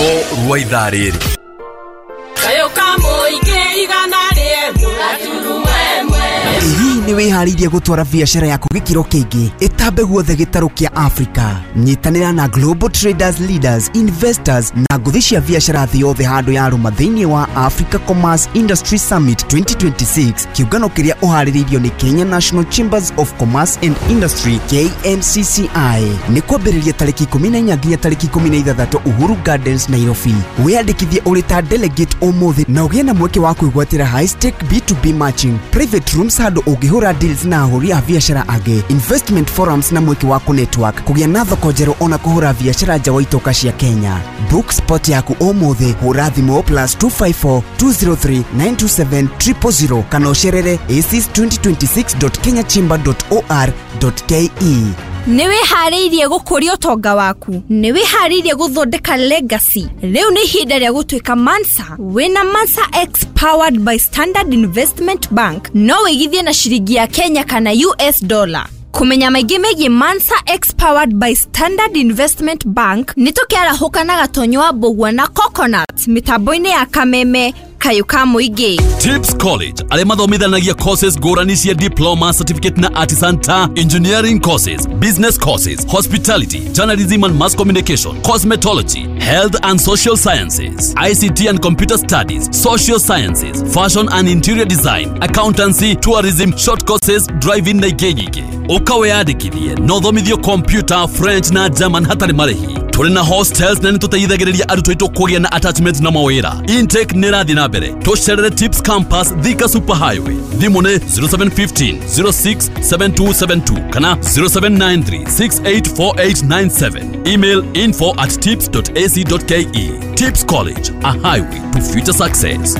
Rwĩmbo rwa ithaa rĩrĩ. Kayũ ka mũingĩ 100.1. Hihi nĩ wĩharĩirie gũtwara biacara yaku gĩkĩro kĩngĩ ĩtambe guothe gĩtarũ kĩa Africa? Nyitanĩra na Global Traders Leaders, Investors na ngũthi cia biacara thĩ yothe handũ ya rũma thĩinĩ wa Africa Commerce Industry Summit 2026, kĩũngano kĩrĩa ũharĩrĩirio nĩ Kenya National Chambers of Commerce and Industry, KNCCI. Nĩ kwambĩrĩria tarĩki 14 nginya tarĩki 16 Uhuru Gardens, Nairobi. Wĩyandĩkithie ũrĩ ta delegate ũmũthĩ na ũgĩe na mweke wa kwĩgwatĩra high stake B2B matching, private rooms handũ ũngĩhũra deals na ahũri a biacara angĩ, investment forums na mweke wa kũ-network, kũgĩa na thoko njerũ ona kũhũra biacara nja wa itoka cia Kenya. Book spot yaku ũmũthĩ, hũra thimũ +254 203 927 000 kana ũcerere aces2026.kenyachamber.or.ke. Nĩ wĩharĩirie gũkũria ũtonga waku? Nĩ wĩharĩirie gũthondeka legacy? Rĩu nĩ ihinda rĩa gũtuĩka Mansa. Wĩna Mansa X powered by Standard Investment Bank, no wĩigithie na ciringi ya Kenya kana US dollar. Kũmenya maingĩ megiĩ Mansa X powered by Standard Investment Bank, nĩ tũkĩarahũka na Gatonyo wa Mbũgua na Coconut mĩtambo-inĩ ya Kameme Kayũ ka Mũingĩ. Tips College arĩa mathomithanagia courses ngũrani cia diploma, certificate na artisan ta engineering courses, business courses, hospitality, journalism and mass communication, cosmetology, health and social sciences, ICT and computer studies, social sciences, fashion and interior design, accountancy, tourism, short courses, driving na ingĩ nyingĩ. Ũka wĩyandĩkithie na ũthomithio computer, French na German hatarĩ marĩhi. Tũrĩ na hostels na nĩ tũteithagĩrĩria arutwo aitũ kũgĩa na attachment na mawĩra. Intake nĩ ĩrathiĩ na mbere. Tũcerere Tips Campus, Thika Super Highway. Thimũ nĩ 0715 067272 kana 0793 684897. Email info@tips.ac.ke. Tips College, a highway to future success.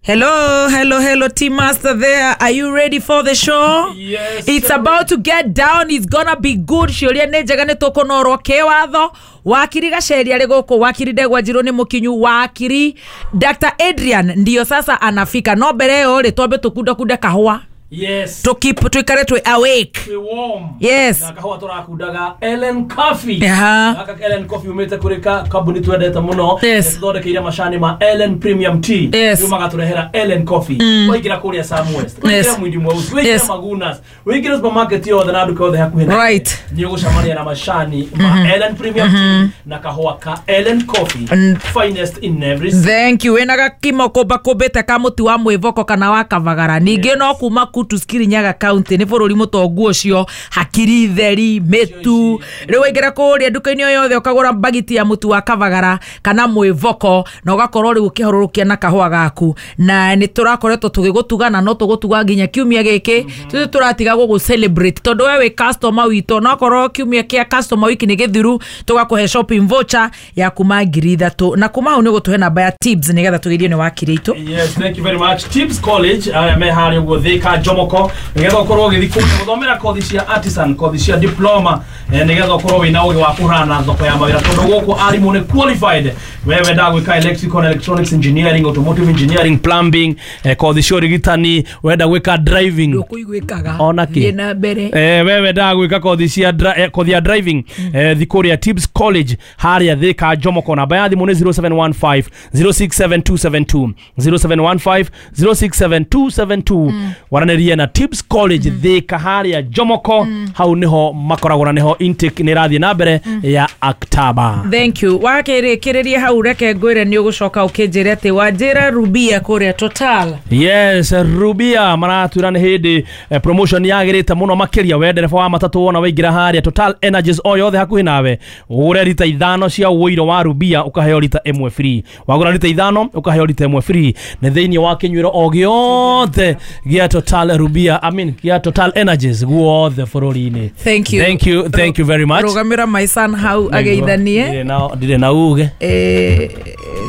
Hello, hello, hello, Team Master there. Are you ready for the show? Yes. It's about to get down. It's gonna be good. Ciũria nĩ njega, nĩ tũkũnorwo kĩwatho. Wakiri Gaceri arĩ gũkũ, wakiri Ndegwa Njirũ nĩ mũkinyu, wakiri Dr. Adrian ndio sasa anafika. No mbere ĩyo rĩ, twambe tũkundakunde kahũa. Yes. Tũkeep tuikare twĩ awake. Twĩ warm. Yes. Na kahũa tũrakundaga Ellen Coffee. Aha. Gaka Ellen Coffee umĩte kũrĩ kambuni twendete mũno. Yes. Tũthondekeire macani ma Ellen Premium Tea. Yes. Rĩu magatũrehera Ellen Coffee. Waingĩra kũrĩa Sam West. Waingĩra Mwindi Mweusi. Waingĩra Magunas. Waingĩra supermarket yothe na nduka yothe hakuhĩ nawe. Nĩ ũgũcemania na macani ma Ellen Premium Tea na kahũa ka Ellen Coffee. Finest in every Thank you. Wĩna gakimo kũmba kũmbĩte ka mũtu wa mwĩvoko kana wa kavagara. Ningĩ no kuma Kutus, Kirinyaga County, nĩ bũrũri mũtongu ũcio, hakiri theri mĩtu. Rĩu waingĩra kũrĩa nduka-inĩ o yothe ũkagũra mbagiti ya mũtu wa kavagara kana mwĩvoko na ũgakorwo rĩu ũkĩharũrũkia na kahũa gaku. Na nĩ tũrakoretwo tũgĩgũtuga na no tũgũtuga nginya kiumia gĩkĩ. Tũtĩ tũratiga gũgũ celebrate tondũ we wĩ customer witũ, no korwo kiumia kĩa customer week nĩ gĩthiru, tũgakũhe shopping voucher ya kuma 3,000 na kuma hau nĩ ũgũtũhe namba ya Tips nĩgetha tũgerie nĩ wakiri itũ. Yes, thank you very much. Tips College arĩa me harĩa ũguo Thika Jomoko, nĩgetha ũkorwo ũgĩthiĩ kũu gũthomera kothi cia artisan, kothi cia diploma, nĩgetha ũkorwo wĩna ũgĩ wa kũhũrana na thoko ya mawĩra, tondũ gũkũ arimũ nĩ qualified. We wendaga gwĩka electrical and electronics engineering, automotive engineering, plumbing, kothi cia ũrigitani, wenda gwĩka driving. Ndũkũiguĩkaga. Ona kĩ? Thiĩ na mbere. We wendaga gwĩka kothi cia kothi ya driving, thi kũrĩa Tips College harĩa Thika Jomoko. Namba ya thimũ nĩ 0715 067272, 0715 067272. Waranĩrie na Tips College Thika harĩa Jomoko, hau nĩho makoragwo na nĩho intake nĩ ĩrathiĩ na mbere ya October. Thank you. Wakĩrĩkĩrĩria hau, reke ngwĩre nĩ ũgũcoka ũkĩnjĩre atĩ wanjĩra Rubia kũrĩa Total. Yes, Rubia maratwĩra nĩ hĩndĩ promotion yagĩrĩte mũno makĩria. We ndereba wa matatũ, wona waingĩra harĩa Total Energies o yothe hakuhĩ nawe, ũgũre rita 5 cia ũiro wa Rubia ũkaheo rita 1 free. Wagũra rita 5 ũkaheo rita 1 free. Nĩ thĩinĩ wa kĩnyuĩro o gĩothe gĩa Total Rubia, I mean gĩa Total Energies guothe bũrũri-inĩ. Thank you. Thank you, thank you very much. Rũgamĩra my son hau ageithanie. Ndirĩ na uge.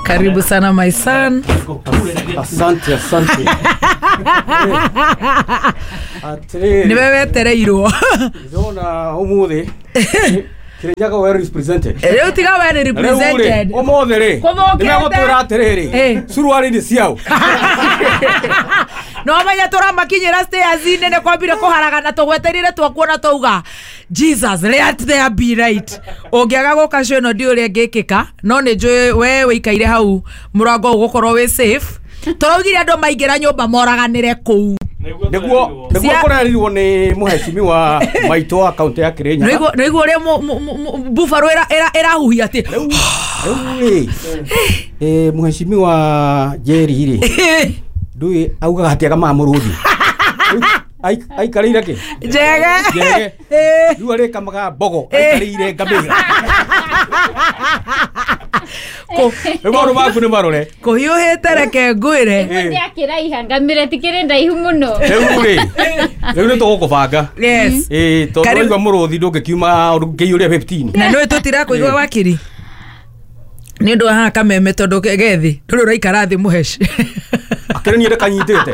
Karibu sana my son. Asante, asante. Atĩrĩrĩ, Nĩwe wetereirwo. Ndĩrona ũmũthĩ Kirinyaga well represented. Rĩu tiga we nĩ Rĩu rĩ, represented. Ũmũthĩ rĩ, Kũthũkĩte. nĩmegũtwĩra atĩrĩrĩ, Eh. suruari nĩ ciao. No menya tũramakinyĩra stairs-inĩ nĩ kwambire kũharagana tũgweterire twakuona twauga Jesus let there be light. Ũngĩaga gũka show ĩno ndiũĩ ũrĩa ĩngĩkĩka, no nĩ njũĩ we wĩikaire hau mũrango ũgũkorwo wĩ safe. Tũraugire andũ maingĩra nyũmba moraganĩre kũu. Nĩguo kũrerirwo nĩ mũhecimiwa maitũ wa kaunti ya Kirinyaga. Nĩguo ũrĩa buffalo ĩrahuhia atĩ rĩu rĩ mũhecimiwa Njeri rĩ ndũĩ augaga atĩ agamaga mũrũthi aikarĩire kĩ njege rĩu arĩkamaga mbogo aikarĩire ngamĩra. Rĩu maũndũ maku nĩ marore kũhiũhĩte reke ngwĩre akĩraiha ngamĩra tikĩrĩ ndaihu mũno. Rĩu rĩ rĩu nĩ tũgũkũbanga. Yes. Tondũ waigua mũrũthi ndũngĩkiuma ndũngĩiyũria 15. Na nĩũĩ tũtirakũigua wakiri nĩ ũndũ wa haha kameme tondũ gethi ndũrĩ ũraikara thĩ mũheci. Akĩrĩ niĩ ndĩkanyitĩte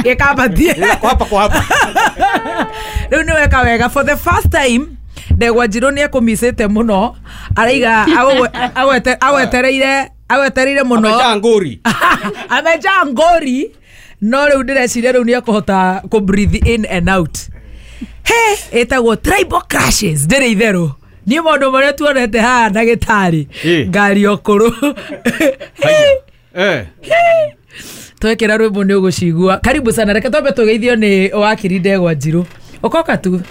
gĩkambatie kwapa kwapa. Rĩu nĩ weka wega for the first time Ndegwa Njirũ nĩ ekũmicĩte mũno araiga agwetereire mũno amejaa ngũri amejaa ngũri no rĩu ndĩreciria rĩu nĩ ekũhota kũ breathe in and out. He ĩtagwo tribal crashes ndĩrĩ itherũ niĩ maũndũ marĩa tuonete haha ndagĩtarĩ ngari ũkũrũ twekĩra rwĩmbo nĩ ũgũcigua. Karibu sana, reke twambe tũgeithio nĩ wakiri Ndegwa Njirũ. Ũkoka tu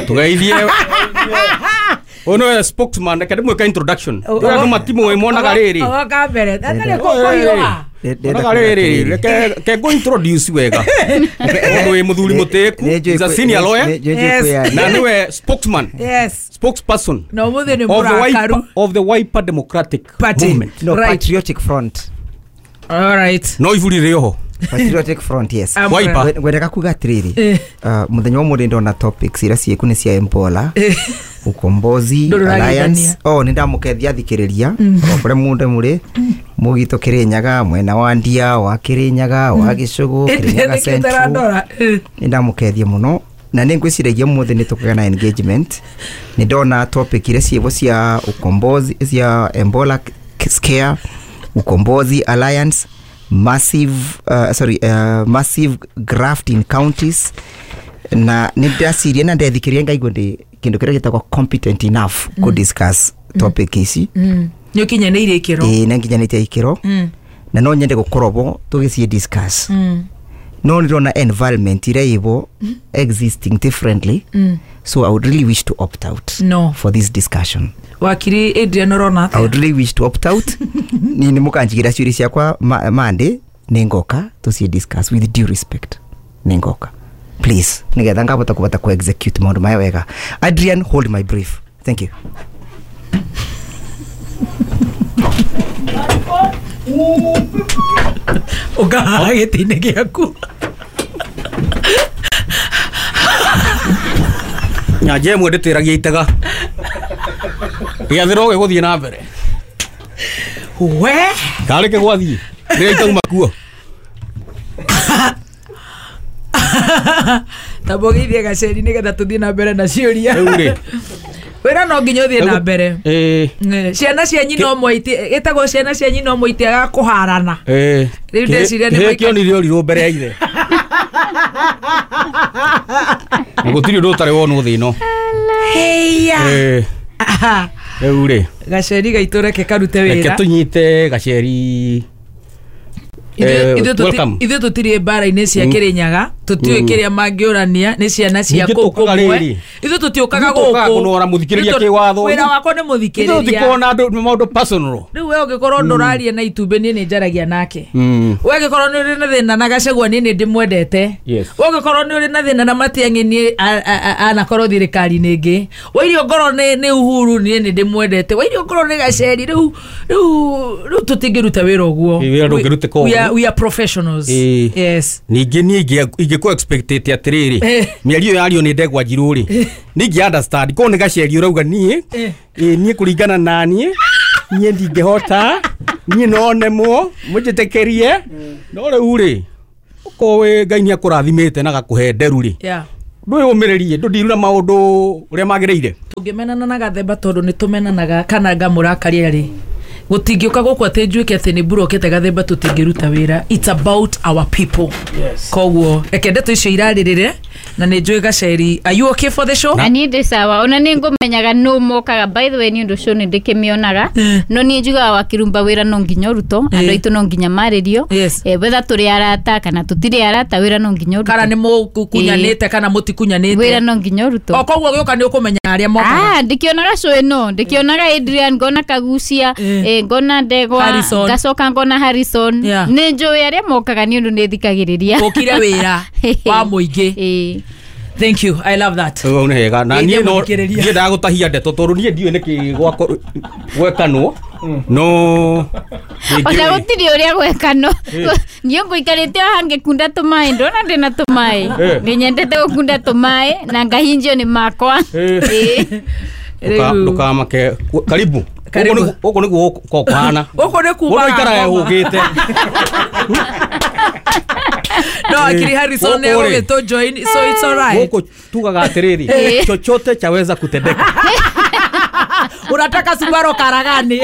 tugeithie ũyũ nĩwe spokesman, reke ndĩmwĩke introduction. Andũ matimũĩ monaga rĩrĩ oka mbere atarĩ kũhiũha monaga rĩrĩ reke ngũ introduce wega mũndũ wĩ mũthuri mũtĩĩku is a senior lawyer na nĩwe spokesman. Yes. Spokesperson na ũmũthĩ nĩ mũrakaru of the Wiper Democratic Party. Movement. No, right. Patriotic Front. All right. No iburi rĩ oho Patriotic Front, yes. Wiper. Ngwendaga kuga atiriri muthenya wa mũthĩ ndona topics iria ciĩku nĩ cia Empola Ukombozi Alliance. Oh, nĩ ndamũkethia thikĩrĩria o kũrĩa mũndũ mũrĩ mũgitũ Kirinyaga mwena wa Ndia wa Kirinyaga wa Gĩcũgũ Kirinyaga Central. Nĩ ndamũkethia mũno na nĩ ngwĩciragia mũthĩ nĩ tũkũgĩa na engagement. Nĩ ndona topic iria ciĩvo cia Ukombozi cia Embola Scare, Ukombozi Alliance, massive massive graft in counties na nĩ ndaciria na ndethikiria ngaigua ndi kindu kiria gitagwo competent enough ku discuss topic ici. Nĩ ũkinyanĩirie ikĩro. Ĩĩ nĩ nginyanĩtie ikĩro na no nyende gũkorwo bo tũgĩciĩ discuss. No ndĩrona environment iria ĩbo existing differently. So I would really wish to opt out for this discussion. Wakiri Adrian ũrona atĩa? I would really wish to opt out. Ni nĩ mũkanjigĩra ciũria ciakwa Monday nĩ ngoka tũciĩ discuss with due respect. Nĩ ngoka please nigetha ngabota kubata ku execute maundu maya wega. Adrian, hold my brief. Thank you. Ũkahaha gĩtĩ-inĩ gĩaku. Nyanja ĩmwe ndĩtĩragia itega gĩathĩro gĩgũthiĩ na mbere we karĩ kĩgwathiĩ rĩrĩa itauma kuo tamba ũgeithie Gaceri nĩgetha tũthiĩ na mbere na ciũria. Rĩu rĩ wĩra no nginya ũthiĩ na mbere. Ciana cia nyina ũmwe ĩtagwo ciana cia nyina ũmwe itiagaga kũharana. Rĩu ndeciria nĩ kĩonire ũrirũ mbere ya ithe na gũtirĩ ũndũ ũtarĩ wonwo thĩ ĩno. Heya rĩu rĩ Gaceri gaitũ reke karute wĩra. Reke tũnyite Gaceri. Ithuĩ tũtirĩ mbara-inĩ cia Kirinyaga, tũtiũĩ kĩrĩa mangĩũrania nĩ ciana cia kũu kũmwe. Ithuĩ tũtiũkaga gũkũ kũnora mũthikĩrĩria kĩwatho. Wĩra wakwa nĩ mũthikĩrĩria. Ithuĩ tũtikona maũndũ personal. Rĩu we ũngĩkorwo ndũraria na itumbĩ niĩ nĩ njaragia nake. We ũngĩkorwo nĩ ũrĩ na thĩna na Gachagua niĩ nĩ ndĩmwendete. We ũngĩkorwo nĩ ũrĩ na thĩna na Matiang'i niĩ anakorwo thirikari-inĩ ĩngĩ. Wairio ngorwo nĩ Uhuru niĩ nĩ ndĩmwendete. Wairio ngorwo nĩ Gaceri rĩu tũtingĩruta wĩra ũguo. Wĩra ndũngĩrutĩka ũguo. We are professionals. Yes. Ningĩ niĩ ingĩkũ expectate atĩrĩrĩ mĩario yario nĩ Ndegwa Njirũ rĩ ningĩ understand korwo nĩ Gaceri ũrauga niĩ niĩ kũringana na niĩ niĩ ndingĩhota niĩ no nemwo mũnjĩtĩkĩrie no rĩu rĩ ũkorwo wĩ Ngai nĩ akũrathimĩte na gakũhe nderu rĩ ndwĩyũmĩrĩrie ndũndirura maũndũ ũrĩa magĩrĩire. Tũngĩmenana na Gathemba tondũ nĩ tũmenanaga kana ngamũrakaria rĩ Gũtingĩũka gũkũ atĩ njuĩke atĩ nĩ mburokete gathemba tũtingĩruta wĩra. It's about our people. Yes. Koguo reke ndeto icio irarĩrĩre na nĩ njũĩ Gaceri, are you okay for the show? Na niĩ ndĩ sawa, ona nĩ ngũmenyaga nũ mokaga. By the way, nĩ ũndũ show nĩ ndĩkĩmĩonaga, no niĩ njugaga wakirumba wĩra no nginya ũrutwo, andũ aitũ no nginya marĩrio. Yes. Whether tũrĩ arata kana tũtirĩ arata, wĩra no nginya Kana ũrutwo. nĩ mũkunyanĩte kana mũtikunyanĩte, Wĩra no nginya ũrutwo. O koguo gĩũka nĩ ũkũmenya arĩa mokaga. Ah, ndikĩonaga show ĩno, ndĩkĩonaga Adrian, ngona Kagucia, ngona Ndegwa, Harrison. ngacoka ngona Harrison. Yeah. Nĩ njũĩ arĩa mokaga nĩ ũndũ nĩ thikagĩrĩria. Ũkire wĩra wa mũingĩ. Thank you, I love that. Hau nĩ hega na Geithia niĩ no mũthikĩrĩria. niĩ ndagũtahia ndeto tondũ niĩ ndiũĩ nĩkĩ gwekanwo no Ona gũtirĩ ũrĩa gwekano, niĩ ngũikarĩte o haha ngĩkunda tũmaĩ, ndona ndĩna tũmaĩ. Nĩ nyendete gũkunda tũmaĩ na ngahinjio nĩ makwa. Rĩu- Ndũkamake, karibu. Karibu. Gũkũ nĩguo gũkoragwo kũhana. Gũkũ nĩ Gũkũ ikaraga kuma hũgĩte. No akiri Harrison nĩ Gũkũ rĩ. egũgĩtũ join, so it's all right. Gũkũ tugaga atĩrĩrĩ, chochote chaweza kutendeka. Unataka Subaru karagani.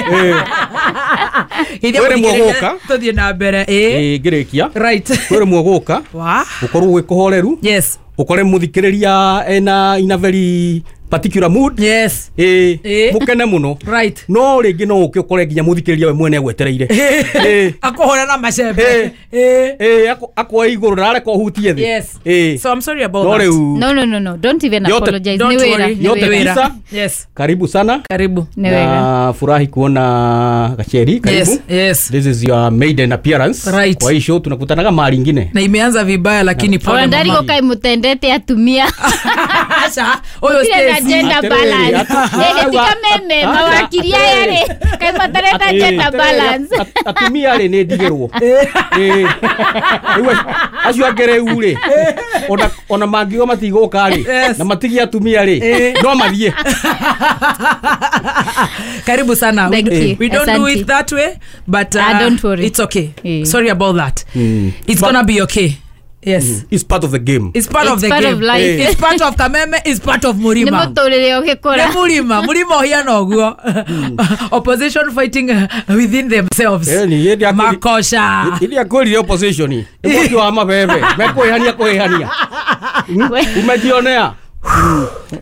Geithia Kwĩ rĩmwe mũthikĩrĩria, gũka. tũthiĩ na mbere. Ĩ. Ĩ, ngĩrĩkia. Right. Kwĩ rĩmwe gũka Wa. ũkorwo gwĩ kũhoreru, Yes. ũkore mũthikĩrĩria ena in a very particular mood. Yes. Ĩ, Ĩ. mũkene mũno. Right. No rĩngĩ no ũke ũkore nginya mũthikĩrĩria we mwene agwetereire. Ĩ. Akũhũra na macembe. Ĩ. Ĩ. Ĩ, akwoe igũrũ ndarareka ũhutie thĩ. Yes. Ĩ. So I'm sorry about No that. rĩu No, no, no, no, don't even Yote- apologize. Don't Nĩ wĩra, worry. nĩ Yote wĩra. Wĩra. tisa. Yes. Karibu sana. Karibu. Nĩ wega. Na furahi kuona Gacheri, karibu. Yes, yes. This is your maiden appearance. Right. Kwa hii show tunakutanaga mara ingine. Na imeanza vibaya lakini pole Ona mama. ndarigwo kaĩ mũtendete atumia. Aca, ũyũ Gũtirĩ na Stacy. gender Atĩrĩrĩ, balance. Tika meme mawakiri aya rĩ, kaĩ matarenda gender balance. Atumia rĩ nĩ ndigĩrwo. Ĩ. Rĩu acio angĩ rĩu rĩ, ona mangiuga matigũka rĩ, Yes. na matigie atumia rĩ, no mathiĩ. Karibu sana. Thank you. We don't do Asante. it that way, but Don't worry. it's okay. Eh. Sorry about that. It's gonna be okay. Yes. It's part of the game. It's part of It's the part game. of life. It's part of Kameme, it's part of Nĩ Murima. mũtũrĩre ũgĩkũra. Nĩ Murima, Murima ũhiana ũguo. Opposition fighting within themselves. Eh, ni hĩndĩ ya Makosha. Ili akwĩrire opposition nĩ mwaki wa mabebe mekwĩhania kwĩhania umejionea.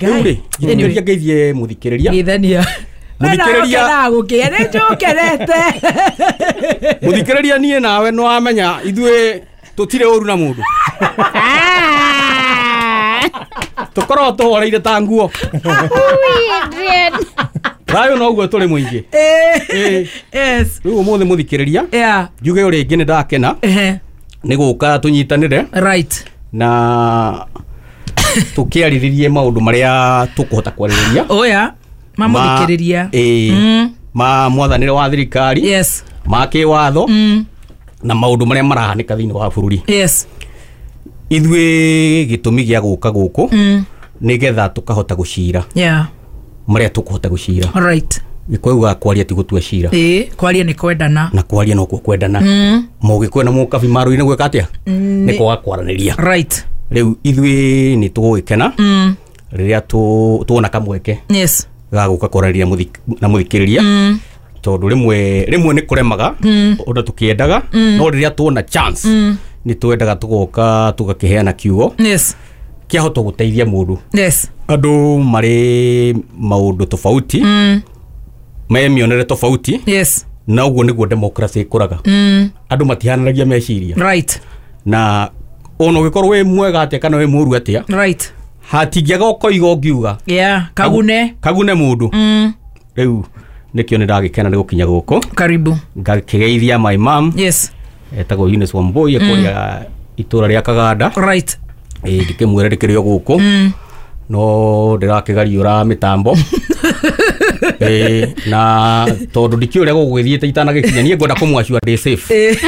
Rĩu rĩ, njĩtĩkĩria ngeithie mũthikĩrĩria. Geithania. Mũthikĩrĩria- Gũkĩa nĩ njũkerete. Mũthikĩrĩria, niĩ nawe nĩ wamenya ithuĩ tũtirĩ ũru na mũndũ. Ah. Tũkoragwo tũhoreire ta nguo. Ui, Adrian. Thayũ noguo tũrĩ mũingĩ. Ĩ. Yes. Rĩu ũmũthĩ mũthikĩrĩria, Yeah. njuge rĩngĩ nĩ ndakena Ehe. nĩ gũka tũnyitanĩre Right. na tũkĩarĩrĩrie maũndũ marĩa tũkũhota kwarĩrĩria. Oya. Mamũthikĩrĩria. Ĩ, ma mwathanĩre wa thirikari, Yes. ma kĩwatho na maũndũ marĩa marahanĩka thĩinĩ wa bũrũri. Yes. Ithuĩ gĩtũmi gĩa gũka gũkũ nĩgetha tũkahota gũcira Yeah. marĩa tũkũhota gũcira. Right. Gĩkũyũ kwaria ti gũtua cira. Ĩ, kwaria nĩ kwendana. Na kwaria nokuo kwendana. Mũgĩkũyũ na mũkabi marũi-inĩ gwĩka atĩa? Nĩ kwaga kwaranĩria. Right. Rĩu ithuĩ nĩ tũgũgĩkena rĩrĩa tuona kamweke Yes. ga gũka kwaranĩria na mũthikĩrĩria, tondũ rĩmwe rĩmwe nĩ kũremaga ũndũ tũkĩendaga, no rĩrĩa tuona chance nĩ twendaga tũgoka tũgakĩheana kiugo Yes. kĩahota gũteithia mũndũ. Yes. Andũ marĩ maũndũ tofauti, me mĩonere tofauti, Yes. na ũguo nĩguo democracy ĩkũraga. Andũ matihananagia meciria. Right. Na ona ũgĩkorwo wĩ mwega atĩa kana wĩ mũru atĩa, Right. hatingĩaga ũkoiga ũngiuga. Yeah. Kagune. Kagune mũndũ. Rĩu nĩkĩo nĩ ndagĩkena nĩ gũkinya gũkũ. Karibu. Ngakĩgeithia my mom, Yes. etagwo Eunice Wambui, ekũrĩa itũra rĩa Kaganda. Right. Ĩ, ndikĩmwĩre ndĩkĩrĩ o gũkũ, no ndĩrakĩgariũra mĩtambo. Ĩ, na tondũ ndikĩũĩ ũrĩa gũgũgĩthiĩte itanagĩkinya, niĩ ngwenda kũmwacua ndĩ safe.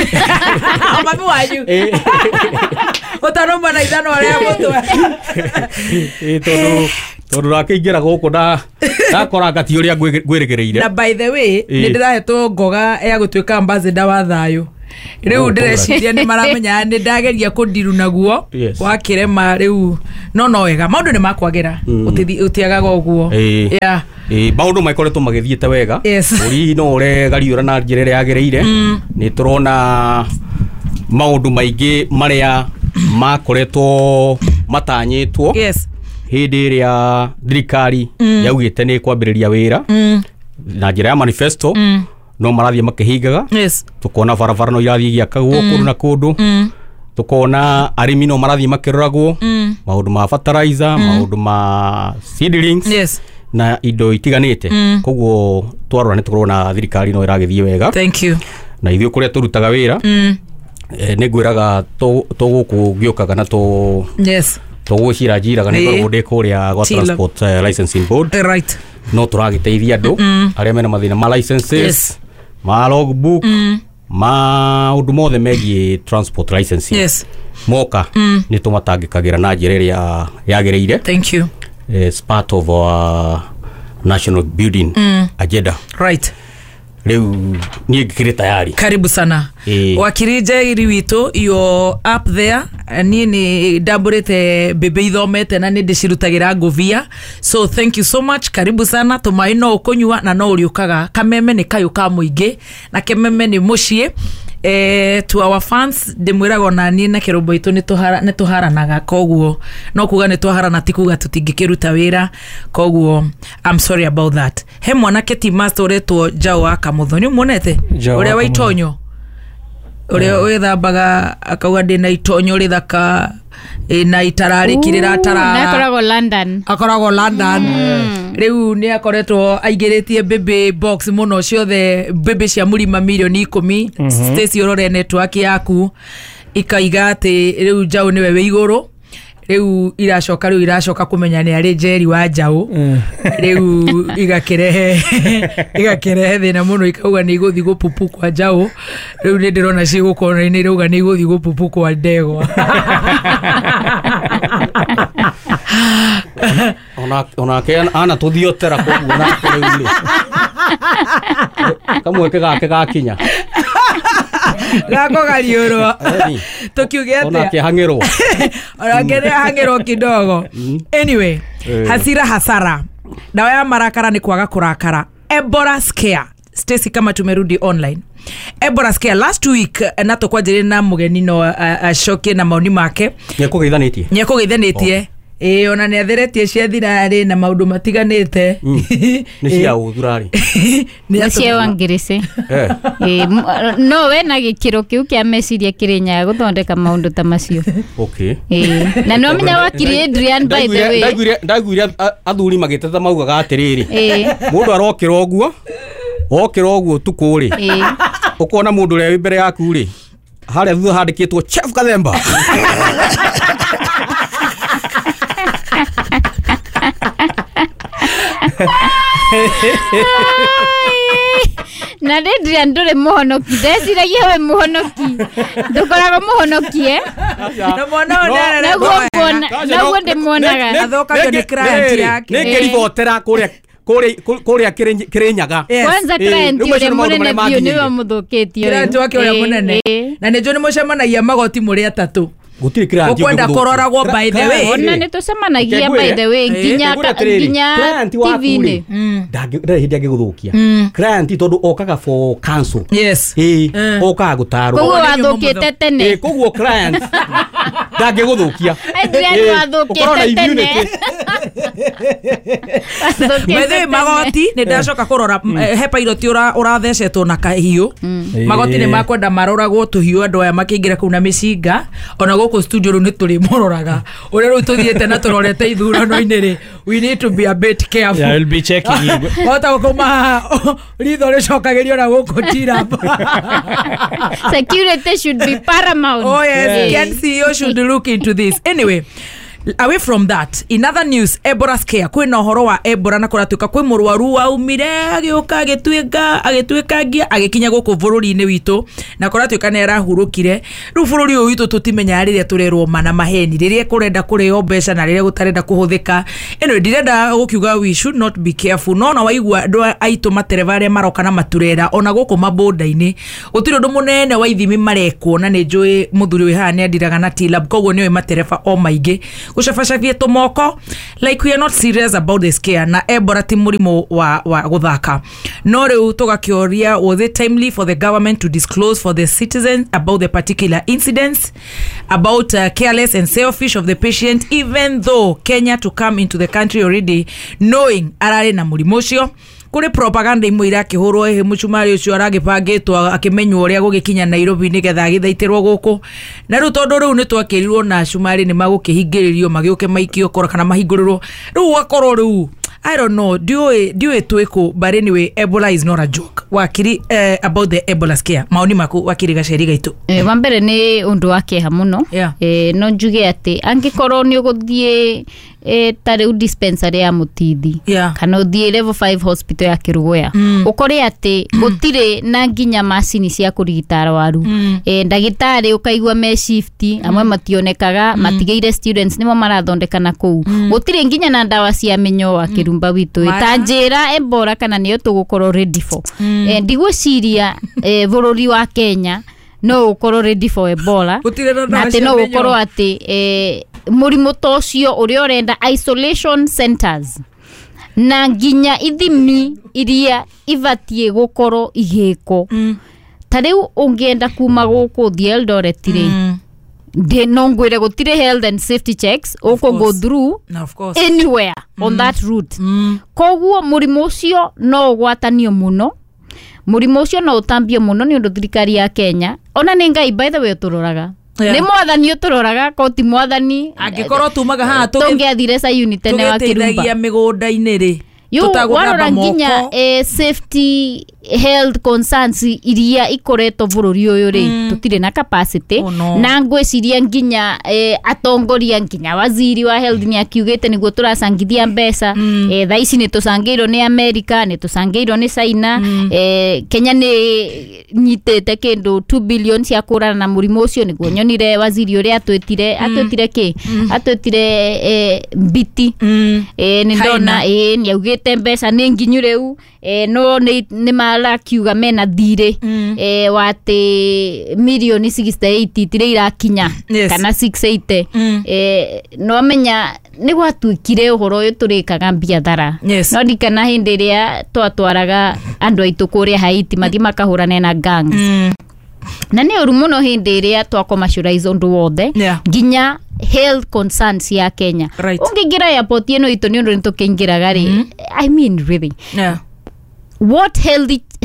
Mami wanyu. Ũtanauma na ithano rĩa mũtwe. Ĩ, tondũ ndakĩingĩra gũkũ ndakora ngati ũrĩa ngwĩrĩgĩrĩire. Na by the way, Ĩ. nĩ ndĩrahetwo ngoga ya gũtuĩka ambassador wa thayũ. Rĩu Oh, ndĩreciria nĩ maramenya nĩ ndageria kũndiru naguo. Yes. Wakĩrema rĩu, no wega maũndũ nĩ makwagĩra. Ũtiagaga ũguo. Ĩ. Yeah. Maũndũ makoretwo magĩthiĩte wega. Bũrũri no ũregariũra na njĩra ĩrĩa yagĩrĩire. Nĩ tũrona maũndũ maingĩ marĩa makoretwo matanyĩtwo hĩndĩ ĩrĩa thirikari yaugĩte nĩ kwambĩrĩria wĩra na njĩra ya manifesto no marathiĩ makĩhingaga. Tukona barabara no irathiĩ igĩakagwo kũndũ na kũndũ. Tukona arĩmi no marathiĩ makĩroragwo maũndũ ma fertilizer, maũndũ ma seedlings na indo itiganĩte. Koguo twarora nĩ tũrona thirikari no ĩragĩthiĩ wega. Thank you. Na ithuĩ kũrĩa tũrutaga wĩra nĩ ngwĩraga tũgũkũ ngĩũkaga na tũgũcira njiraga nĩ ngoragwo ndĩ kũrĩa gwa Transport Licensing Board. Right. No tũragĩteithia andũ arĩa mena mathĩna ma licenses, ma logbook, maũndũ mothe megiĩ transport licensing. Moka nĩ tũmatangĩkagĩra na njĩra ĩrĩa yagĩrĩire. Thank you. It's part of our national building agenda. Right. Rĩu niĩ ngĩkĩrĩ tayari. Karibu sana. Wakiri Njeri witũ, you're up there. Niĩ nĩ ndambũrĩte mbĩmbĩ ithomete na nĩ ndĩcirutagĩra ngũbia, so thank you so much. Karibu sana. Tũmaĩ no ũkũnyua na no ũrĩũkaga. Kameme nĩ kayũ ka mũingĩ na kememe nĩ mũciĩ. To our fans ndĩmwĩraga ona niĩ na kĩrũmbo itũ nĩ tũharanaga, koguo no kuga nĩ twaharana ti kuga tũtingĩkĩruta wĩra, koguo I'm sorry about that. He mwanake ti master ũretwo Njaũ wa Kamũtho, nĩ ũmuonete ũrĩa wa itonyo, ũrĩa wĩthambaga akauga ndĩna itonyo rĩthaka na itararĩki rĩratarara. Akoragwo London. Akoragwo London. Rĩu nĩ akoretwo aingĩrĩtie mbĩmbĩ box mũno ciothe, mbĩmbĩ cia mũrima milioni 10. Stacy ũrore network yaku ikaiga atĩ rĩu Njaũ nĩwe wĩ igũrũ. Rĩu iracoka kũmenya nĩ arĩ Njeri wa Njaũ. Rĩu igakĩrehe thĩna mũno, ikauga nĩ igũthiĩ gũpupu kwa Njaũ. Rĩu nĩ ndĩrona cigũkona-inĩ irauga nĩ igũthiĩ gũpupu kwa ndegwa. Onake ana tũthiotera koguo nake rĩu rĩ kamweke gake gakinya gakũgariũrwo tũkiuge atĩa, onake hang'ĩrwo, onake nĩ ahang'ĩrwo kidogo. Anyway, hasira hasara, dawa ya marakara ni kwaga kurakara. Ebola scare. Stacy, kama tumerudi online, Ebola scare last week na tũkwanjĩrĩ na mũgeni no acokie na maoni make. Nĩekũgeithanĩtie. Ĩĩ, ona nĩ atheretie cia thirarĩ na maũndũ matiganĩte. Nĩ cia ũthurarĩ, nĩ cia Wangirisi. No we na gĩkĩro kĩu kĩa meciria kĩrĩ nyaga gũthondeka maũndũ ta macio. Okay. Na no menya wakiri Adrian, by the way. Ndaiguire athuri magĩteta maugaga atĩrĩrĩ, mũndũ arokĩra ũguo, okĩra ũguo tukũ rĩ, ũkona mũndũ ũrĩa wĩ mbere yaku rĩ, harĩa thutha handĩkĩtwo Chef Kathemba. Na Adrian ndũrĩ mũhonoki, ndeciragia we mũhonoki, ndũkoragwo mũhonoki Na mwana ũyũ nĩarerwo naguo ndĩmuonaga athũkagio nĩ client yake. Nĩ ngĩribotera kũrĩa Kĩrĩnyaga. Kwanza client ũrĩa mũnene biũ nĩwe mũthũkĩtie. Client wake ũrĩa mũnene. Na nĩ njũĩ nĩ mũcemanagia magoti mũrĩ atatũ. Gũtirĩ client ũkwenda kũroragwo by the way. Ona nĩ tũcemanagia by the way nginya TV-inĩ. Ndarĩ hĩndĩ angĩgũthũkia client tondũ okaga for counsel. Yes. Okaga gũtarwo. Koguo wathũkĩte tene. Koguo client ndangĩgũthũkia. Adrian wathũkĩte tene. By the way, magoti nĩ ndacoka kũrora he pilot ũrathecetwo na kahiũ. Magoti nĩ makwenda maroragwo tũhiũ andũ aya makĩingĩra kũu na mĩcinga. Ona gũkũ studio rĩu nĩ tũrĩmũroraga ũrĩa rĩu tũthiĩte na tũrorete ithurano-inĩ rĩ, we need to be a bit careful. Yeah, we'll be checking you. Wahota gũkũma ritho rĩcokagĩrio na gũkũ tirap. Security should be paramount. Oh yes, Ken CEO should look into this. Anyway, away from that, in other news, Ebola scare. Kwĩna ũhoro wa Ebola na kũratuĩka kwĩ mũrwaru waumire agĩũka agĩtuĩka agĩtuĩkangia agĩkinya gũkũ bũrũri-inĩ witũ na kũratuĩka nĩ arahurũkire. Rĩu bũrũri ũyũ witũ tũtimenyaga rĩrĩa tũrerwo mana maheni, rĩrĩa kũrenda kũrĩo mbeca na rĩrĩa gũtarenda kũhũthĩka. Anyway, ndirenda gũkiuga we should not be careful. No ona waigua andũ aitũ matereba arĩa maroka na maturera ona gũkũ mabonda-inĩ gũtirĩ ũndũ mũnene wa ithimi marekwo, na nĩ njũĩ mũthuri wĩ haha nĩ andiraga na T-Lab, koguo nĩoĩ matereba o maingĩ. Gũcabacabia tũmoko like we are not serious about this care, na Ebola ti mũrimũ wa gũthaka. No rĩu tũgakĩũria, was it timely for the government to disclose for the citizens about the particular incidents about careless and selfish of the patient, even though Kenya to come into the country already knowing ararĩ na mũrimũ ũcio? Kũrĩ propaganda imwe irakĩhũrwo, ĩhĩ mũcumarĩ ũcio aragĩbangĩtwo akĩmenywo ũrĩa gũgĩkinya Nairobi nĩgetha agĩthaitĩrwo gũkũ. Na rĩu tondũ rĩu nĩ twakĩrirwo na cumarĩ nĩ magũkĩhingĩrĩrio magĩũke maikio kora kana mahingũrĩrwo, rĩu ũgakorwo rĩu I don't know, ndiũĩ twĩkũ, but anyway, Ebola is not a joke. Wakiri, about the Ebola scare, maoni maku wakiri gaceri gaitũ. Wa mbere nĩ ũndũ wa kĩeha mũno. Yeah. No njuge atĩ angĩkorwo nĩ ũgũthiĩ ta rĩu dispensary ya Mũtithi, Yeah. kana ũthiĩ level 5 hospital ya Kĩrũgũya, ũkore atĩ gũtirĩ na nginya macini cia kũrigita arwaru, ndagĩtarĩ ũkaigua me shift, amwe mationekaga, matigĩire students nĩmo marathondeka na kũu, gũtirĩ nginya na ndawa cia mĩnyoo wa Kĩrumba witũ. Ta njĩra Ebola kana nĩyo tũgũkorwo ready for. Ndigwĩciria bũrũri wa Kenya no ũkorwo ready for Ebola, Gũtirĩ na na ndawa atĩ cia no mĩnyoo. gũkorwo atĩ mũrimũ ta ũcio ũrĩa ũrenda isolation centers na nginya ithimi iria ibatiĩ gũkorwo igĩkwo. Ta rĩu ũngĩenda kuma gũkũ ũthiĩ Eldoret rĩ, no ngwĩre gũtirĩ health and safety checks ũkũ go through Na of course. anywhere on that route. Koguo mũrimũ ũcio no ũgwatanio mũno, mũrimũ ũcio no ũtambio mũno, nĩ ũndũ thirikari ya Kenya ona nĩ Ngai by the way ũtũroraga, Yeah. nĩ mwathani ũtũroraga, ko ti mwathani Angĩkorwo tumaga haha tũngĩathire Sayuni tene wa Kĩrumba. Tũgĩteithagia mĩgũnda-inĩ rĩ, Yu, tũtagũthamba warora nginya moko. Safety health concerns iria ikoretwo bũrũri ũyũ rĩ, tũtirĩ na capacity. Oh, no. Na ngwĩciria nginya atongoria, nginya waziri wa health nĩ akiugĩte nĩguo tũracangithia mbeca. Thaa ici nĩ tũcangĩirwo nĩ America, nĩ tũcangĩirwo nĩ China. Kenya nĩ nyitĩte kĩndũ 2 billion cia kũrana na mũrimũ ũcio, nĩguo nyonire waziri ũrĩa atwĩtire kĩ atwĩtire mbiti. Nĩ ndona nĩ augĩte mbeca nĩ nginyu rĩu, no nĩ marakiuga mena thirĩ wa atĩ mirioni 68 itirĩ irakinya. Yes. Kana 680. No amenya nĩ gwatuĩkire ũhoro ũyũ tũrĩkaga biathara. Yes. No ndikana hĩndĩ ĩrĩa twatwaraga andũ aitũ kũrĩa Haiti mathiĩ makahũrane na gangs, na nĩ ũru mũno hĩndĩ ĩrĩa twa commercialize ũndũ wothe, Yeah. nginya health concerns ya Kenya. Right. Ũngĩingĩra airport ĩno itũ, nĩ ũndũ nĩ tũkĩingĩraga rĩ, I mean really, Yeah. what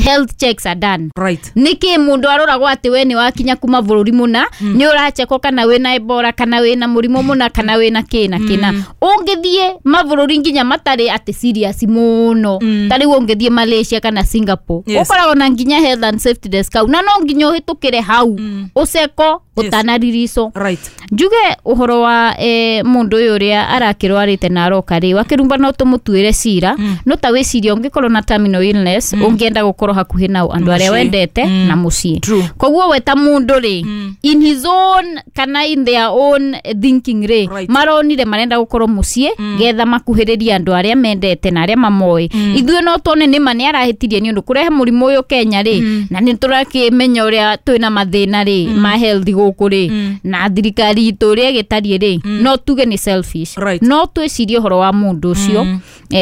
health checks are done? Right. Nĩkĩ mũndũ aroragwo atĩ we nĩ wakinya kuma bũrũri mũna, nĩ ũrachekwo kana wĩna Ebola kana wĩna mũrimũ mũna kana wĩna kĩna kĩna? Ũngĩthiĩ mabũrũri nginya matarĩ atĩ serious mũno, ta rĩu ũngĩthiĩ Malaysia kana Singapore, Yes. ũkoragwo na nginya health and safety desk hau, na no nginya ũhĩtũkĩre hau ũceko ũtanaririco. Right. Njuge ũhoro wa mũndũ ũyũ ũrĩa arakĩrwarĩte na aroka rĩ, wakĩrumba no tũmũtuĩre cira, no ta wĩcirie ũngĩkorwo na terminal illness, ũngĩenda gũkorwo hakuhĩ nao andũ arĩa Mũciĩ. wendete na mũciĩ. True. Koguo we ta mũndũ rĩ, in his own kana in their own thinking rĩ, Right. maronire marenda gũkorwo mũciĩ getha makuhĩrĩrie andũ arĩa mendete na arĩa mamoĩ. Ithuĩ no tuone nĩma nĩ arahĩtirie nĩ ũndũ kũrehe mũrimũ ũyũ Kenya rĩ, na nĩ tũrakĩmenya ũrĩa twĩna mathĩna rĩ ma health gũkũ rĩ, na thirikari itũ ũrĩa ĩgĩtariĩ rĩ, no tuge nĩ selfish. Right. No twĩcirie ũhoro wa mũndũ ũcio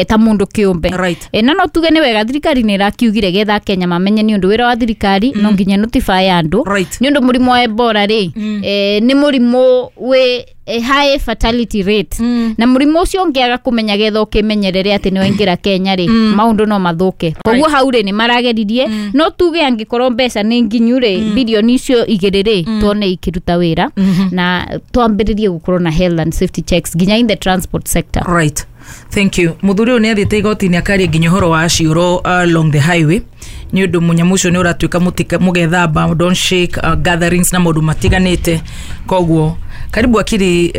ta mũndũ kĩũmbe. Right. Na no tuge nĩ wega thirikari nĩ ĩrakiugire getha Kenya mamenye, nĩ ũndũ wĩra wa thirikari no nginya notify andũ. Right. Nĩ ũndũ mũrimũ wa Ebola rĩ, nĩ mũrimũ wĩ high fatality rate, na mũrimũ ũcio ũngĩaga kũmenya getha ũkĩmenyerere atĩ nĩ waingĩra Kenya rĩ, maũndũ no mathũke. Koguo hau rĩ nĩ marageririe. No tuge angĩkorwo mbeca nĩ nginyu rĩ, bilioni icio igĩrĩ rĩ, tuone ikĩruta wĩra na twambĩrĩrie gũkorwo na health and safety checks nginya in the transport sector. Right, thank you. Muthuri ũyũ nĩ athiĩte igoti-inĩ akaria nginya ũhoro wa ciũro along the highway, nĩ ũndũ mũnyamũ ũcio nĩ ũratuĩka mũgethamba, don't shake, gatherings na maũndũ matiganĩte. Koguo karibu akiri,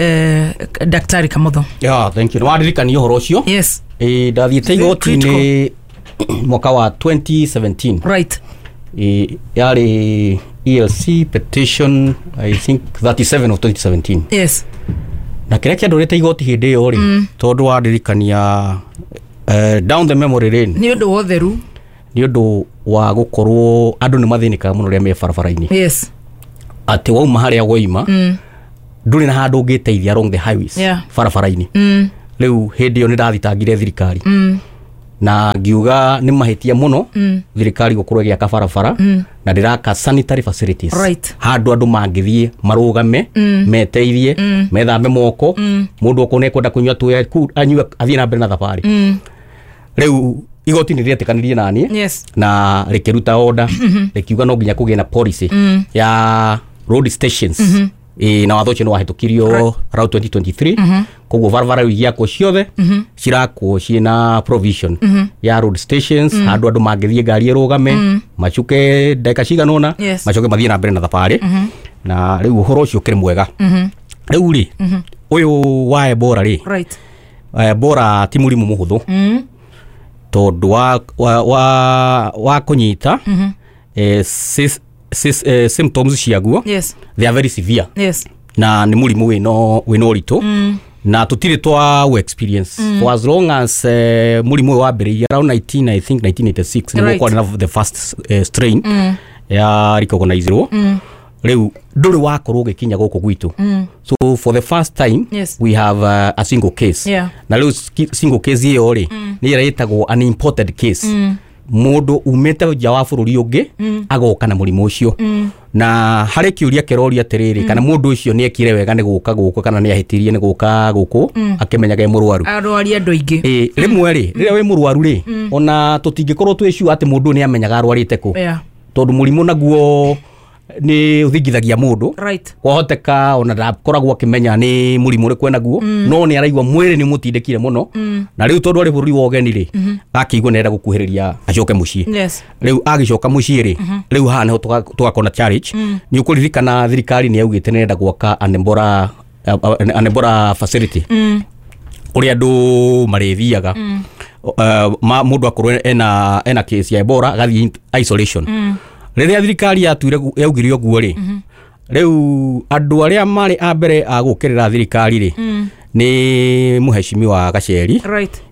daktari Kamotho. Yeah, thank you. Nĩ wandirikania ũhoro ũcio. Yes. Ĩ, ndathiĩte igoti-inĩ mwaka wa 2017. Right. Ĩ, yarĩ ELC petition I think 37 of 2017. Yes. Na kĩrĩa kĩandũrĩte igoti hĩndĩ ĩyo rĩ, tondũ wandirikania down the memory lane, Nĩ ũndũ wa ũtheru. Nĩ ũndũ wa gũkorwo andũ nĩ mathĩnĩkaga mũno rĩrĩa me barabara-inĩ, Yes. atĩ wauma harĩa woima. Ndũrĩ na handũ ũngĩteithia along the highways, barabara-inĩ. Rĩu hĩndĩ ĩyo nĩ ndathitangire thirikari na ngiuga nĩ mahĩtia mũno thirikari gũkorwo ĩgĩaka barabara na ndĩraka sanitary facilities, handũ andũ mangĩthiĩ marũgame, meteithie, methambe moko, mũndũ okorwo nĩekwenda kũnyua tũĩ anyue, athiĩ na mbere na thabarĩ. Rĩu igoti nĩ rĩetĩkanirie naniĩ na rĩkĩruta order, rĩkiuga no nginya kũgĩe na policy ya road stations. Ĩ, na watho ũcio nĩ wahĩtũkirio around 2023. Koguo barabara rĩu igiakwo ciothe cirakwo ciĩna provision ya road stations, handũ andũ mangĩthiĩ, ngari ĩrũgame, macuke ndagĩka cigana ũna, macoke mathiĩ na mbere na thabarĩ. Na rĩu ũhoro ũcio ũkĩrĩ mwega. Rĩu rĩ, ũyũ wa Ebola rĩ, Ebola ti mũrimũ mũhũthũ, tondũ wa kũnyita, symptoms ciaguo, they are very severe, na nĩ mũrimũ wĩna ũritũ na tũtirĩ twa experience for as long as mũrimũ ũyũ wambĩrĩirie around 19, I think 1986, nĩguo kwarĩ na the first strain ya recognizirwo. Rĩu ndũrĩ wakorwo ũgĩkinya gũkũ gwitũ, so for the first time we have a single case. Na rĩu single case ĩyo rĩ, nĩ ĩrĩa ĩtagwo an imported case, mũndũ umĩte nja wa bũrũri ũngĩ agoka na mũrimũ ũcio. Na harĩ kĩũria kĩroria atĩrĩrĩ, kana mũndũ ũcio nĩ ekire wega nĩ gũka gũkũ, kana nĩ ahĩtirie nĩ gũka gũkũ akĩmenyaga e mũrwaru? Arwaria andũ aingĩ. Ĩ, rĩmwe rĩ, rĩrĩa wĩ mũrwaru rĩ, ona tũtingĩkorwo twĩ sure atĩ mũndũ ũyũ nĩ amenyaga arwarĩte kũ, tondũ mũrimũ naguo nĩ ũthingithagia mũndũ. Kwahoteka ona ndakoragwo akĩmenya nĩ mũrimũ ũrĩkũ enaguo, no nĩ araigua mwĩrĩ nĩ mũtindĩkire mũno, na rĩu tondũ arĩ bũrũri wa ũgeni rĩ, akĩigua nĩarenda gũkuhĩrĩria acoke mũciĩ. Rĩu agĩcoka mũciĩ rĩ, rĩu haha nĩho tũgakona challenge. Nĩ ũkũririkana thirikari nĩ yaugĩte nĩrenda gwaka an Ebola facility kũrĩa andũ marĩthiaga, mũndũ akorwo ena case ya Ebola agathiĩ isolation. Rĩrĩa thirikari yatuire yaugire ũguo rĩ, rĩu andũ arĩa marĩ a mbere a gũkĩrĩra thirikari rĩ, nĩ mũhecimiwa Gaceri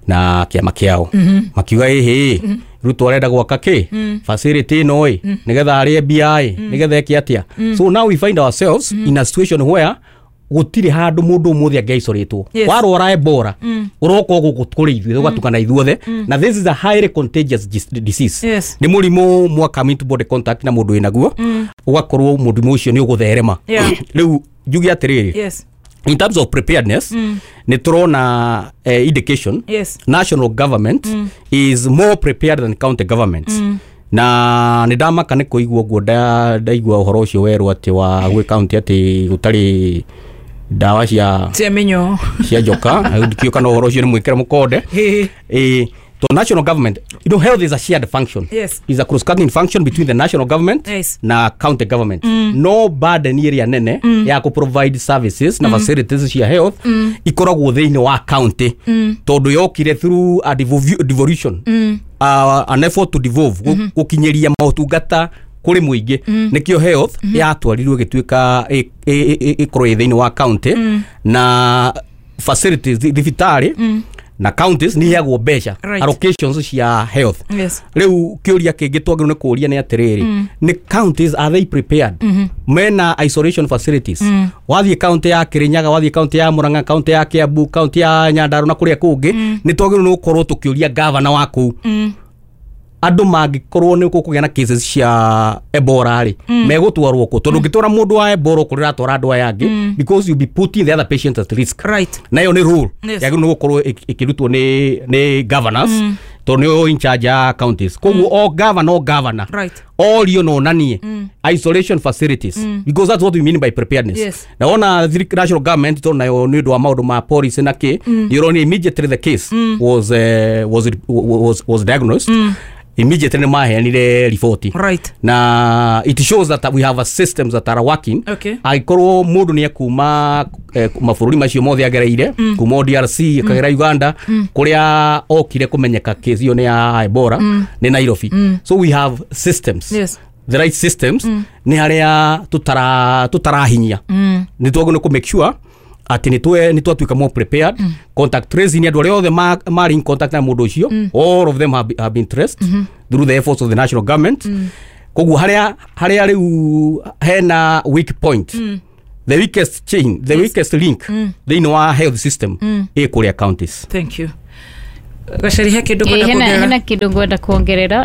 na kĩama kĩao, makiuga ĩhĩ, Ruto arenda gwaka kĩ facility ĩno ĩ nĩgetha arĩe mbia ĩ, nĩgetha eke atĩa. So now we find ourselves in a situation where gũtirĩ handũ mũndũ ũmũthĩ angĩaicoretwo. Warwara Ebola, ũroka gũkũ kũrĩ ithuĩ, tũgatukana ithuothe, na this is a highly contagious disease. Nĩ mũrimũ mwaka into body contact na mũndũ wĩnaguo, ũgakorwo mũrimũ ũcio nĩ ũgũtherema. Rĩu njuge atĩrĩrĩ, in terms of preparedness, nĩ tũrona indication national government is more prepared than county governments. Na nĩ ndamaka nĩ kũigua ũguo, ndaigua ũhoro ũcio werwo atĩ wa gwĩ county atĩ gũtarĩ ndawa cia cia mĩnyoo. Cia njoka. Ndikĩũĩ kana ũhoro ũcio nĩ mwĩkĩre mũkonde. To national government, health is a shared function, is a cross cutting function between the national government na county government. No burden ĩrĩa nene ya kũ provide services na facilities cia health ikoragwo thĩinĩ wa county, tondũ yokire through a devolution, an effort to devolve, gũkinyĩria motungata kũrĩ mũingĩ. Nĩkĩo health yatwarirwo ĩgĩtuĩka ĩkorwo ĩ thĩinĩ wa county, na facilities, thibitarĩ na counties nĩ iheagwo mbeca, allocations cia health. Rĩu kĩũria kĩngĩ twagĩrĩirwo nĩ kũũria nĩ atĩrĩrĩ, nĩ counties, are they prepared? Mena isolation facilities? Wathiĩ county ya Kirinyaga, wathiĩ county ya Murang'a, county ya Kiambu, county ya Nyandarua na kũrĩa kũngĩ, nĩ twagĩrĩirwo nĩ gũkorwo tũkĩũria gavana wa kũu, andũ mangĩkorwo nĩ gũkũgĩa na cases cia Ebola rĩ, megũtwarwo kũ? Tondũ ũngĩtwara mũndũ wa Ebola kũrĩa ũratwara andũ aya angĩ, because you be putting the other patients at risk. Na ĩyo nĩ rule yagĩrĩirwo nĩ gũkorwo ĩkĩrutwo nĩ governors, tondũ nĩo in charge ya counties. Koguo o governor, o governor orio no onanie isolation facilities, because that's what we mean by preparedness. Na wona national government, tondũ nayo nĩ ũndũ wa maũndũ ma policy na kĩ, nĩ ũronire immediately the case was diagnosed, immediately nĩ maheanire riboti. Na it shows that we have a systems that are working. Angĩkorwo mũndũ nĩ ekuma mabũrũri macio mothe agereire, kuma o DRC akagera Uganda, kũrĩa okire kũmenyeka case ĩyo nĩ ya Ebola nĩ Nairobi. So we have systems, the right systems. Nĩ harĩa tutarahinyia, nĩ twagĩrĩirwo nĩ kũ make sure atĩ nĩ twatuĩka more prepared. Contact tracing, andũ arĩa othe marĩ in contact na mũndũ ũcio, all of them have been traced through the efforts of the national government. Koguo harĩa rĩu hena weak point, The weakest chain, the weakest link thĩinĩ wa health system ĩ kũrĩa counties. Thank you. Gaceri, he kĩndũ kwenda Hena kuongerera? kindu ngwenda kuongerera.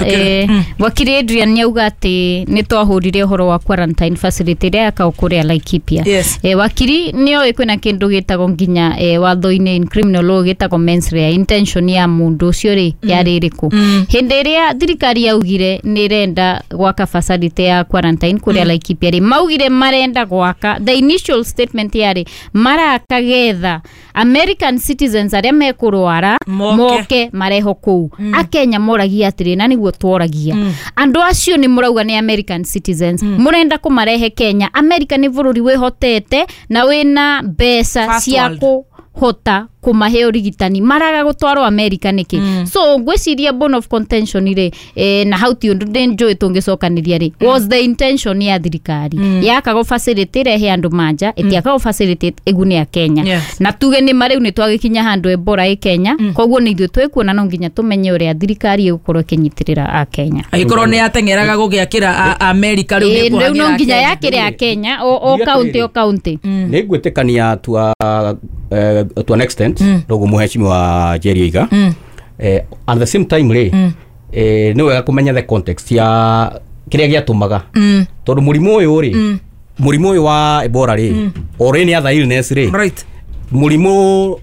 Wakiri Adrian nĩauga atĩ nĩ twahũrire ũhoro wa quarantine facility ĩrĩa yakagwo kũrĩa Laikipia. Yes. Wakiri nĩoĩ kwĩna kĩndũ gĩtagwo nginya watho-inĩ in criminal law gĩtagwo mens rea, intention ya mũndũ ũcio rĩ yarĩ ĩrĩkũ hĩndĩ ĩrĩa thirikari yaugire nĩ ĩrenda gwaka facility ya quarantine kũrĩa Laikipia rĩ, maugire marenda gwaka, the initial statement yarĩ maraka getha American citizens arĩa mekũrwara Moke. Moke mareho kũu. Akenya moragia atĩrĩ, na nĩguo tworagia andũ acio, nĩ mũrauga nĩ American citizens, mũrenda kũmarehe Kenya. America nĩ bũrũri wĩhotete na wĩna mbeca First cia world. kũhota kũmahe ũrigitani, maraga gũtwarwo America nĩkĩ? So ngwĩciria bone of contention rĩ, na hau ti ũndũ ndĩ njũĩ tũngĩcokanĩria rĩ, was the intention ya thirikari yakagwo facility ĩrehe andũ manja, ĩtiakagwo facility ĩgune a Kenya. Yes. Na tuge nĩ ma rĩu nĩ twagĩkinya handũ Ebola ĩ Kenya, koguo nĩ ithuĩ twĩkuona no nginya tũmenye ũrĩa thirikari ĩgũkorwo ĩkĩnyitĩrĩra a Kenya. Angĩkorwo nĩ ateng'eraga gũgĩakĩra America, rĩu Ĩĩ, nĩ rĩu no kũhang'ĩra nginya Kenya. yakĩre a Kenya o Ndiga kaunti o atĩrĩrĩ. kaunti. Nä ngwä to an extent noguo mũhecimiwa Jerry oiga. At the same time rĩ, nĩ wega kũmenya the context ya kĩrĩa gĩatũmaga, tondũ mũrimũ ũyũ rĩ, mũrimũ ũyũ wa Ebola rĩ, or any other illness rĩ, mũrimũ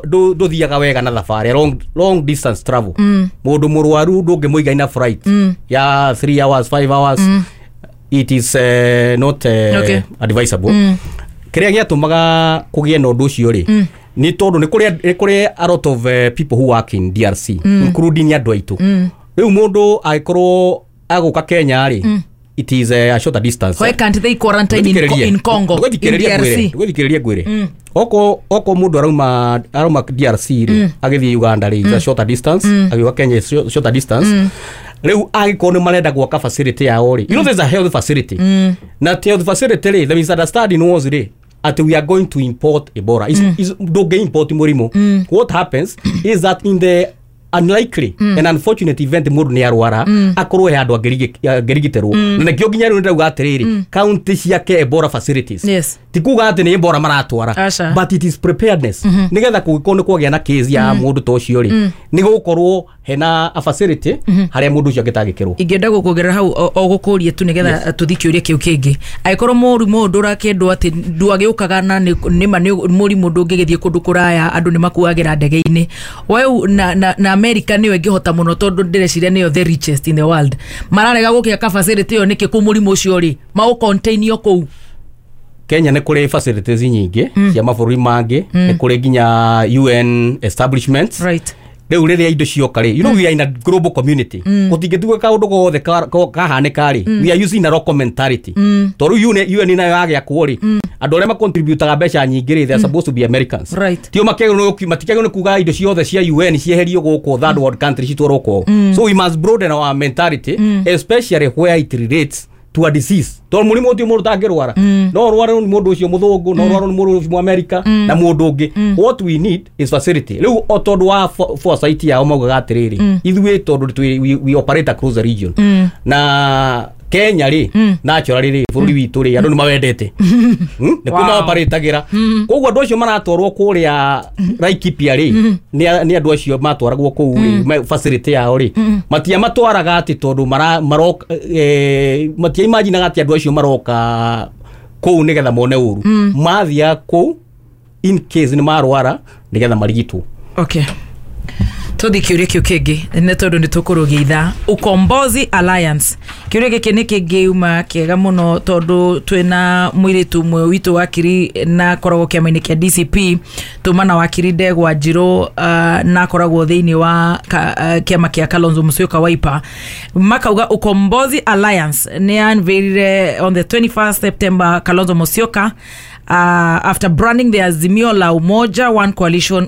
ndũthiaga wega na thabarĩ long, long distance travel. Mũndũ mũrwaru ndũngĩmũiga ina flight ya 3 hours, 5 hours. It is not advisable. Kĩrĩa gĩatũmaga kũgĩe na ũndũ ũcio rĩ, nĩ tondũ nĩ kũrĩ a lot of people who work in DRC, including andũ aitũ. Rĩu mũndũ angĩkorwo agũka Kenya rĩ, it is a shorter distance. Why can't they quarantine in Congo, in DRC? Ndũgũthikĩrĩrie ngwĩre, oko mũndũ arauma DRC rĩ, agĩthiĩ Uganda rĩ, is a shorter distance, agĩũka Kenya is shorter distance. Rĩu angĩkorwo nĩ marenda gwaka facility yao rĩ, you know there's a health facility, na ti health facility rĩ, the misunderstanding was rĩ atĩ we are going to import Ebola. Is ndũngĩ import mũrimũ. What happens is that in the unlikely and unfortunate event mũndũ nĩ arwara, akorwo he handũ angĩrigitĩrwo, na nĩkĩo nginya rĩu nĩndauga atĩrĩrĩ, county ciake Ebola facilities. Ti kuga atĩ nĩ Ebola maratwara, Aca. but it is preparedness nĩgetha kũngĩkorwo nĩ kwagĩa na case ya mũndũ ta ũcio rĩ, nĩ gũkorwo hena a facility harĩa mũndũ ũcio angĩtangĩkĩrwo. Ingĩenda gũkuongerera hau o gũkũrie tu nĩgetha tũthi kĩũria kĩu kĩngĩ. Angĩkorwo mũrimũ ũyũ ndũrakĩendwo atĩ ndwagĩũkaga na nĩma nĩ mũrimũ ndũngĩgĩthiĩ kũndũ kũraya, andũ nĩ makuagĩra ndege-inĩ weu, na America nĩyo ĩngĩhota mũno, tondũ ndĩreciria nĩyo the richest in the world, mararega gũkĩaka facility ĩyo nĩkĩ? Kũ mũrimũ ũcio rĩ, maũcontainio kũu? Kenya nĩ kũrĩ facilities nyingĩ cia mabũrũri mangĩ, nĩ kũrĩ nginya UN establishments. Rĩu rĩrĩa indo cioka rĩ, you know we are in a global community, gũtingĩtuĩka kaũndũ gothe kahanĩka rĩ, we are using a local mentality, tondũ rĩu UN nayo yagĩakwo rĩ, andũ arĩa macontributaga mbeca nyingĩ rĩ, they are supposed to be Americans. Tio matikagĩrĩirwo nĩ kuga indo ciothe cia UN cieherio gũkũ third world country citwarwo kwao. So we must broaden our mentality, especially where it relates to a disease, tondũ mũrimũ ũcio mũndũ tangĩrwara, no ũrware nĩ mũndũ ũcio mũthũngũ, no ũrware nĩ mũndũ ũcio mũamerika na mũndũ ũngĩ. What we need is facility. Rĩu o tondũ wa foresight yao maugaga atĩrĩrĩ, ithuĩ tondũ we operate across the region, na Kenya rĩ, naturally rĩ, bũrũri witũ rĩ, andũ nĩ mawendete. Nĩ kuo maoparatagĩra, koguo andũ acio maratwarwo kũrĩa Laikipia rĩ, nĩ andũ acio matwaragwo kũu rĩ, facility yao rĩ, matiamatwaraga atĩ tondũ maroka, matiaimaginaga atĩ andũ acio maroka kũu nĩgetha mone ũru. Mathiaga kũu in case nĩ marwara nĩgetha marigitwo. Okay, tũthi kĩũria kĩu kĩngĩ nĩ tondũ nĩ tũkũrũgia ithaa. Ukombozi Alliance, kĩũria gĩkĩ nĩ kĩngĩuma kĩega mũno tondũ twĩna mũirĩtu ũmwe witũ wakiri na akoragwo kĩama-inĩ kĩa DCP, tuma na wakiri Ndegwa Njirũ, na akoragwo thĩinĩ wa kĩama kĩa Kalonzo Musyoka, Wiper. Makauga Ukombozi Alliance nĩ unveilire on the 21st September Kalonzo Musyoka after branding the Azimio la Umoja One Coalition,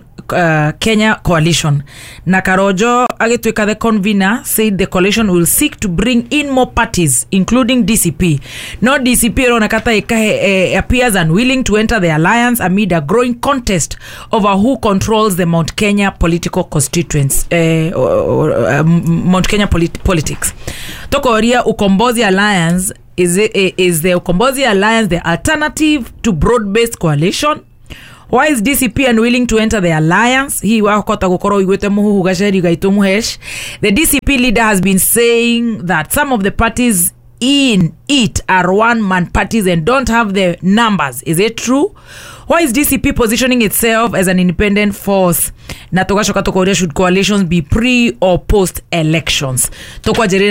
Kenya Coalition, na Karojo agĩtuĩka the convener, said the coalition will seek to bring in more parties including DCP. No DCP ĩroneka ta ĩkahe appears unwilling to enter the alliance amid a growing contest over who controls the Mount Kenya political constituents, Mount Kenya politics. Tokoria Ukombozi Alliance Is the Ukombozi Alliance the alternative to broad-based coalition? Why is DCP unwilling to enter the alliance? Hii wakota gukorwo iguite muhuhu gaceri gaitu muhesh. The DCP leader has been saying that some of the parties in it are one man parties and don't have the numbers. Is it true? Why is DCP positioning itself as an independent force? Na tugacoka tukoria, should coalitions be pre or post elections? Tukwanjĩrĩria.